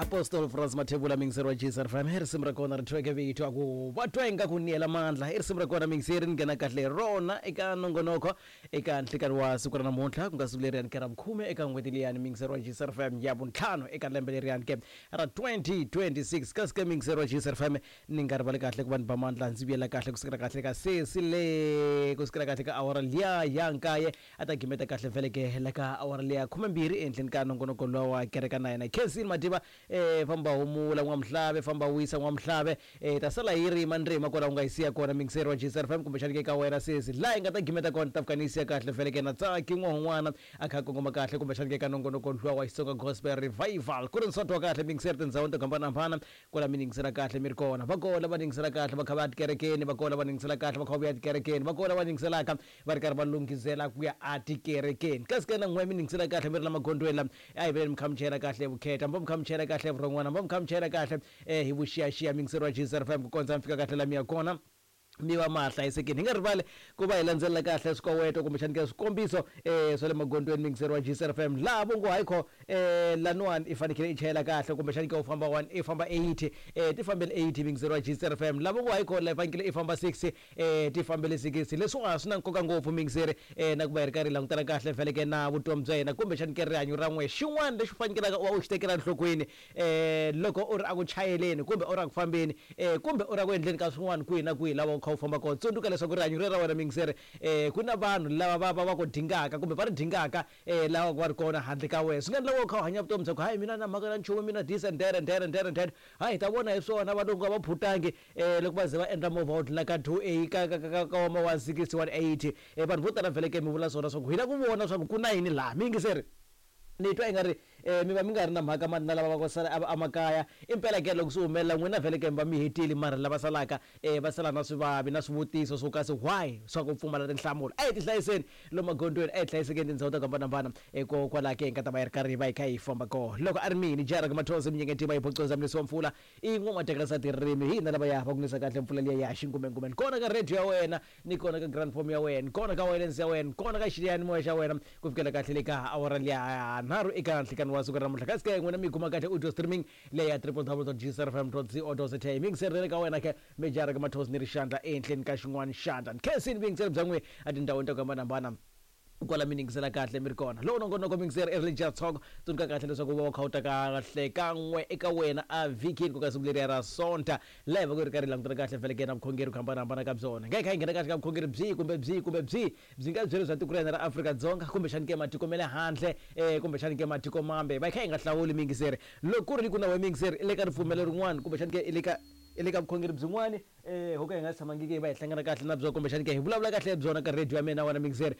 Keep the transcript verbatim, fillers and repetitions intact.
Apostle Frans Mathebula, mingiseri wa J C R F M, i risimu ra kona ri thweke vito a ku va twa ingaku niyela mandla. I risimu ra kona, mingiseri, ni nghena kahle rona eka nongonoko eka nhlikani wa siku ra namuntlha, ku nga siku leriyani ke ra vukhume eka n'hweti liyani, mingiseri wa J C R F M, ya vuntlhanu eka lembe leriyani ke ra twenty twenty-six. Kasi ke, mingiseri wa J C R F M, ni nga rivali kahle ku va ni ba mandla, ndzi vuyela kahle kusukela kahle ka sesi le, kusukela kahle ka awara liya ya nkaye, a ta gimeta kahle vheleke la ka awara liya khumembirhi ehenhleni ka nongonoko lowa wa kereka na yena Khensini Madiba. eh famba humula n'wamuhlave, famba wisa n'wamuhlave, eh ta sala hi rima ndzima kwala u nga yi siya kona, mingiseri wa J C R F M, kumbexani ke ka wena sesi laha hi nga ta gimeta kona, ta fika ni yi siya kahle vheleke na Tsaki n'wahun'wana a kha a kongoma kahle kumbexani ke ka nongonoko luwa wa Xitsonga Gospel Revival, ku ri nswati wa kahle. Mingiseri, tindhawini to hambanahambana kwala mi yingisela kahle mi ri kona, va kona va yingisela kahle va kha va ya tikerekeni, va kona va yingisela kahle va kha va vuya tikerekeni, va kona va yingiselaka va ri karhi va lunghizela ku ya atikerekeni. Kasi ke na n'we mi yingisela kahle mi ri la magondzweni la, a hi veleni mi kha mi chayela kahle vukheta, mi va mi kha mi chayela kahle vurhon'wana, mi va mi kha mi chayela kahle um hi vuxiyaxiya, mingiseri wa J C R F M, ku kondza mi fika kahle la mi ya kona, mi va ma hlayisekile. Hi nga rivali ku va hi landzelela kahle swikoweto kumbexani ke swikombiso um swa le magondzweni, mingiseri wa J C R F M, laha vo ngo hayi kho um laniwani i fanekele i chayela kahle kumbexani ke u famba one, i famba eighty, um ti fambele eighty, mingiseri wa J C R F M. Laha vo ngo hayi kho la i fanekele i famba sixty, um ti fambele sixty. Leswiwa swi na nkoka ngopfu, mingiseri, um na ku va hi ri karhi hi langutana kahle feleke na vutomi bya hina kumbexani ke rihanyo ra n'we. Xin'wana lexi u fanekelaka u va u xi tekela enhlokweni um loko u ri aku chayeleni kumbe u ri aku fambeni um kumbe u ri aku endleni ka swin'wana kwihi na kwihi lava u kha u famba kona, tsundzuka leswaku rihanyo ri ra wena, mingiseri, um ku na vanhu lava va va va ku dingaka kumbe va ri dingaka um lava va ri kona handle ka wena. Swi nga endla u kha u hanya vutomi bya ku hayi, mina na mhaka na nchumu, mina this and that and that and that and that, hayi, hi ta vona hi swona. Valungu a va phutangi um loko va ze va endla movha wo dlula ka two a ka ka ka ka ma one sixty, one eighty. um vanhu vo tala vheleke mi vula swona swa ku hi lava ku vona swa ku ku na yini laha, mi yingiseri. Ni twa i nga ri um mi va mi nga ri na mhaka mani na lava va ku sala emakaya. Impela ke loko swi humelela n'wina vhele ke mi va mi hetile, mara lava salaka um va sala na swivavi na swivutiso swo kasi why, swa ku pfumala tinhlamulo. A hi ti hlayiseni lomu magondzweni, a hi hlayisekeni tindhawu to hambanahambana hikokwalaho ke hi nga ta va hi ri karhi hi va hi kha hi famba kona. Loko a ri mini Jarek Mathosi Minyengetima yi phocoza mlisi wa mpfula i n'wamatekela tirimi, hi hina lava ya va ku nisa kahle mpfula liya ya xingumengume kona ka radio ya wena, ni kona ka grand form ya wena, kona ka wireless ya wena, kona ka xiyanimoya xa wena, ku fikela kahle le ka awara liya nharhu eka nhlikani wa siku ra namuntlha. Kasi ke n'wina mi kuma kahle audio streaming leyi ya w w w dot g c r f m dot co dot za. Mingiserile ka wena ke Mijarek Mathosi ni ri xandla ehenhleni ka xin'wana xandla nkhensini vuyingiseri bya n'we etindhawini to hambanahambana kwala mi yingisela kahle mi ri kona. Loko nongonoko, mingiseri, i Religious Talk, tsundzuka kahle leswaku u va u kha u ta kahle kan'we eka wena a vhikini, ku ka siku leriya ra Sonta, laha hi va ku ri karhi hi langutana kahle vheleke na vukhongeri ku hambanahambana ka byona. Nga hi kha hi nghena kahle ka vukhongeri byihi kumbe byihi kumbe byihi, byi nga byeri bya tiko ra hina ra Afrika-Dzonga kumbexani ke matiko ma le handle, um kumbexani ke matiko mambe, va hi kha hi nga hlawuli, mingiseri. Loko ku ri ku na we, mingiseri, i le ka ripfumelo rin'wana kumbexani ke i le ka i le ka vukhongeri byin'wani um ho ka hi nga tshamangiki hi va hi hlangana kahle na byona kumbexani ke hi vulavula kahle hi byona ka radio ya mina wena, mingiseri.